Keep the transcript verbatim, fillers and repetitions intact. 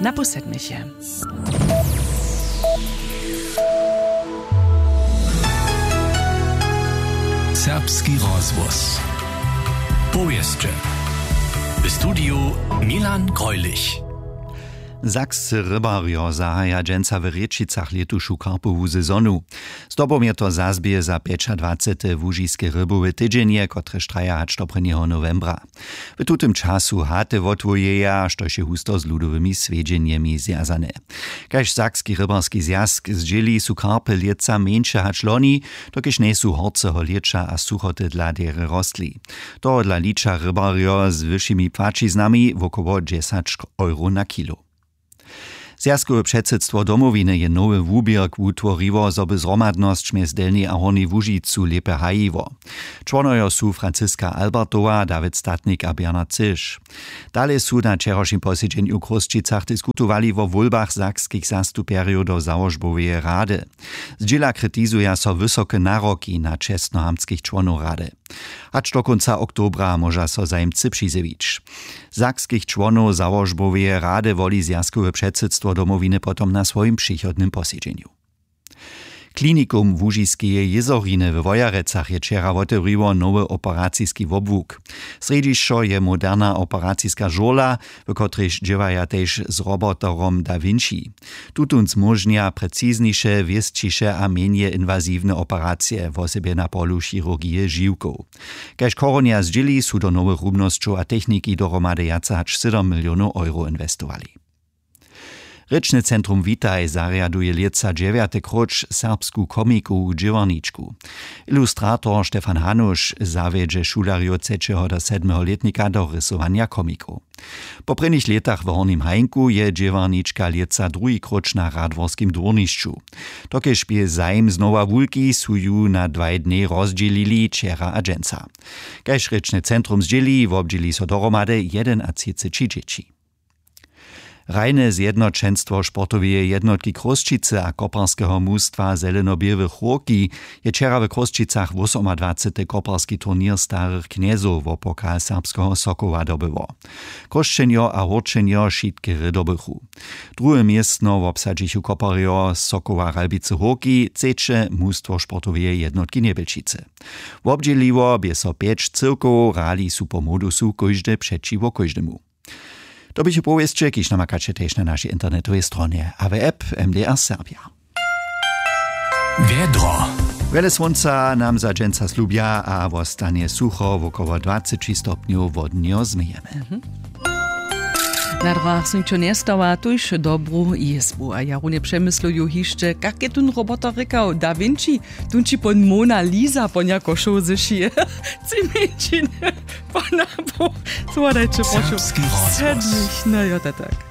Na pół sedmich je. Serbski rozhłos. Powěsće. W studiju Milan Greulich. Sakscy rybarjo zahaja dźensa w Rěčicach lětušu karpowu sezonu. Zdobom je to zazběh za pjećadwacete łužiske rybowe tydźenje, kotrež traja hač do prěnjeho nowembra. W tutym času haty wotwojeja, štož je husto z ludowymi swjedźenjemi zwjazane. Kaž Sakski rybarski zwjazk zdźěli, su karpy lětsa mjeńše hač loni, dokelž njejsu horceho lěća a suchoty dla derje rostli. Tohodla liča rybarjo z wyšimi płaćiznami wokoło dźesać euro na kilo. Zwjazkowe předsydstwo Domowiny je nowy wuběrk wutworiło, zo by zhromadnosć mjez Delnjej a Hornjej Łužicu lěpje hajiło. Čłonojo su Franciska Albertowa, Dawid Statnik a Bernard Cyš. Dale su na wčerawšim posedźenju w Chrósćicach diskutowali wo wólbach sakskich zastupjerjow do załožboweje rady. Zdźěla kritizuja so wysoke naroki na čestnohamtskich čłonow rady. Hač do kónca oktobra móža so zajimcy přizjewić. Sakskich čłonow załožboweje rady woli zwjazkowe předsydstwo Domowiny potom na swojim přichodnym posedźenju. Klinikum Łužiskeje jězoriny we Wojerecach je wčera wotewriło nowy operaciski wobłuk. Srjedźišćo je moderna operaciska žurla, w kotrejž dźěłaja tež z roboterom Da Vinci. Tutón zmóžnja precizniše, wěsćiše a mjenje inwaziwne operacije, wosebje na polu chirurgije žiwkow. Kaž Chorunja zdźěli, su do nowych rumnosćow a techniki dohromady wjace hač sydom milionow euro inwestowali. Rěčne centrum Witaj zarjaduje lětsa dźewjate króć serbsku komikowu dźěłarničku. Ilustrator Stefan Hanuš zawjedźe šulerjow třećeho do sedmeho lětnika do rysowanja komikow. Po prěnich lětach w Hornim Hajnku je dźěłarnička lětsa druhi króć na radworskim dwórnišću. Dokelž bě zajim znowa wulki, su ju na dwaj dnjej rozdźělili wčera a dźensa. Kaž rěčne centrum zdźěli, wobdźěli so dohromady jedenatřiceći dźěći. Hrajne zjednoćenstwo sportoweje jednotki Chrósćicy a koparskeho mustwa Zeleno-běłych Hórki je wčera w Chrósćicach wosomadwacety koparski turněr starych knjezow wo pokal serbskeho Sokoła dobyło. Chrósćenjo a Hórčenjo wšitke rědobychu. Druhe městno wobsadźichu koparjo Sokoła Ralbicy Hórki, třeće mustwo sportoweje jednotki Njebjelčicy. Wobdźěliło bě so pjeć cyłkow, hrali su po modusu kóždy přećiwo kóždemu. To běchu powěsće, kiž namakaće tež na našej internetowej stronje a w app M D R Serbja. Wjedro. Wjele słónca nam za dźensa slubja a wostanje sucho, wokoło dwaceći stopnjow wodnjo změjemy. Na drogach su ničo njestawa, tuž dobru jězbu. A ja runje přemysluju hišće, kak je tón roboter rěkał, Da Vinci, tón ći pon Mona Lisa ponjako šoł zešije. Tři mjeńšiny, pona, słodajće, prošu. Serbski rozhłos. Sedmich, no jo, to tak.